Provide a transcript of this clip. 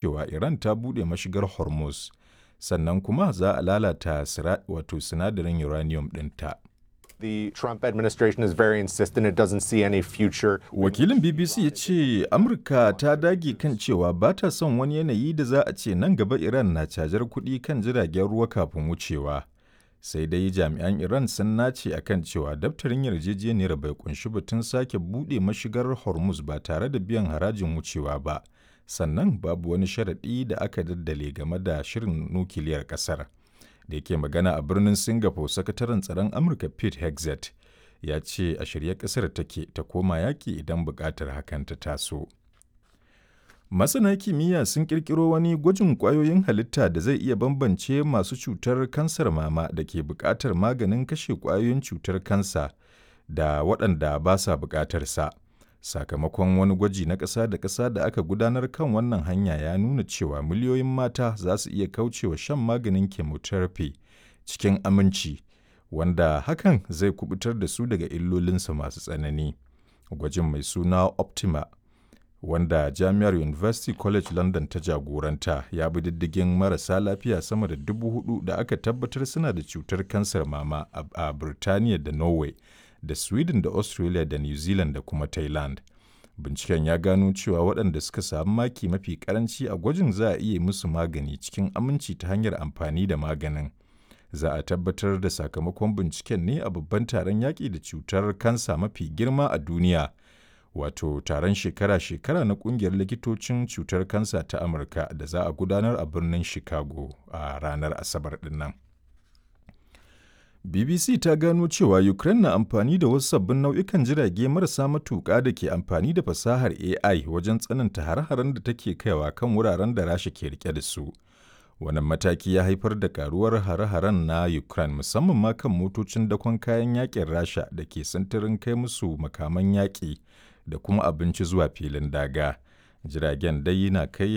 Cewa Iran ta buɗe mashigar Hormuz, sannan kuma za a lalata sinadarin uranium ɗinta. The Trump administration is very insistent it doesn't see any future. Wakilin BBC ya ce Amurka ta dage kan cewa ba ta son wani yanayi da za a ce nan gaba Iran na cajar kuɗi kan jiragen ruwa kafin wucewa. Sai dai jami'an Iran sun nace a kan cewa daftarin yarjejeniyar bai kunshi batun sake buɗe mashigar Hormuz ba tare da biyan harajin wucewa ba. Sannan babu wani sharaɗi da aka daddale game da shirin nukiliyar ƙasar. Da yake magana a birnin Singapore, sakataren tsaron Amurka Pete Hegseth ya ce a shirye kasar take ta koma yaƙi idan buƙatar hakan ta taso. Masana kimiyya sun ƙirƙiro wani gwajin ƙwayoyin halitta da zai iya bambance masu cutar kansar mama da ke buƙatar maganin kashe ƙwayoyin cutar kansa da waɗanda ba sa buƙatar sa. Sakamakon wani gwaji na ƙasa da ƙasa da aka gudanar kan wannan hanya ya nuna cewa miliyoyin mata za su iya kaucewa shan maganin chemotherapy cikin aminci, wanda hakan zai kubutar da su daga illolinsa masu tsanani. Gwajin mai suna Optima, wanda Jami'ar University College London ta jagoranta, ya bi diddigin marasa lafiya sama da 4,000 da aka tabbatar suna da cutar kansar mama a Birtaniya da Norway da Sweden da Australia da New Zealand da kuma Thailand. Binciken ya gano cewa waɗanda suka sami maki mafi karanci a gwajin za a iya musu magani cikin aminci ta hanyar amfani da maganin. Za a tabbatar da sakamakon binciken ne a babban taron yaƙi da cutar kansa mafi girma a duniya, wato taron shekara-shekara na ƙungiyar likitocin cutar kansa ta Amurka da za a gudanar a birnin Chicago a ranar Asabar ɗin nan. BBC ta gano cewa Ukraine na amfani da wasu sabbin nau'ikan jirage marasa matuƙa da ke amfani da fasahar AI wajen tsananta har-haren da take kaiwa kan wuraren da Rasha ke rike da su. Wannan mataki ya haifar da karuwar hare-haren na Ukraine, musamman ma kan motocin dakon kayan yakin Rasha da ke sintirin kai musu makaman yaƙi da kuma abinci zuwa filin daga. Jiragen dai na kai